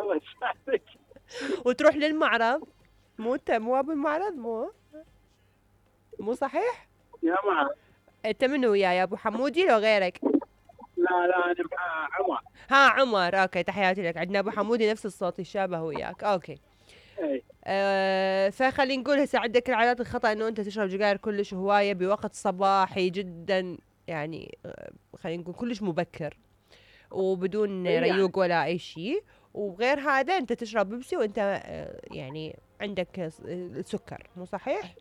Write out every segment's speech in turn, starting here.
الله يسعدك. وتروح للمعرض، مو ابو المعرض، مو صحيح؟ يا معرض. انت منو وياي، ابو حمودي لو غيرك؟ لا انا مع عمر. عمر، اوكي تحياتي لك. عندنا ابو حمودي نفس الصوت يشابه وياك. اوكي. فخلينا نقول هسه عندك العادات الخطأ انه انت تشرب سجاير كلش هوايه بوقت صباحي جدا، يعني خلينا نقول كلش مبكر وبدون ريوق ولا اي شيء. وغير هذا انت تشرب بيبسي وانت يعني عندك سكر، مو صحيح؟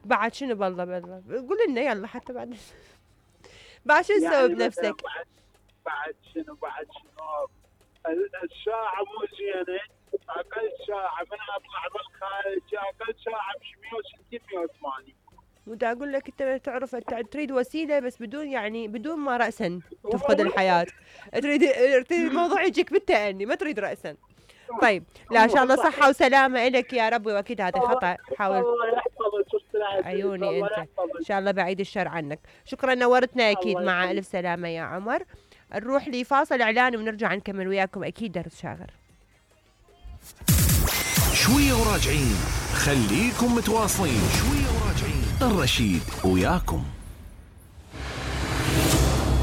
بعد شنو بالله قول لنا يلا حتى بعد بعد شو تسوي يعني بنفسك؟ بعد شنو الساعة مو زينة، اقل ساعة من اطلع بالخارج اقل ساعة ب 160 180. ودا اقول لك انت تعرف انت تريد وسيله بس بدون ما راسا تفقد الحياه، تريد الموضوع يجيك بالتأني، ما تريد راسا. طيب لا ان شاء الله صحه وسلامه لك يا رب، واكيد هذا خطا حاول. الله يحفظك عيوني انت ان شاء الله بعيد الشر عنك. شكرا نورتنا اكيد. مع الف سلامه يا عمر. نروح لفاصل اعلاني ونرجع نكمل وياكم اكيد درس شاغر. شويه وراجعين، خليكم متواصلين. شويه وراجعين، الرشيد وياكم.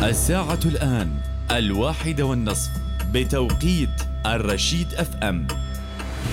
الساعة الآن 1:30 بتوقيت الرشيد FM.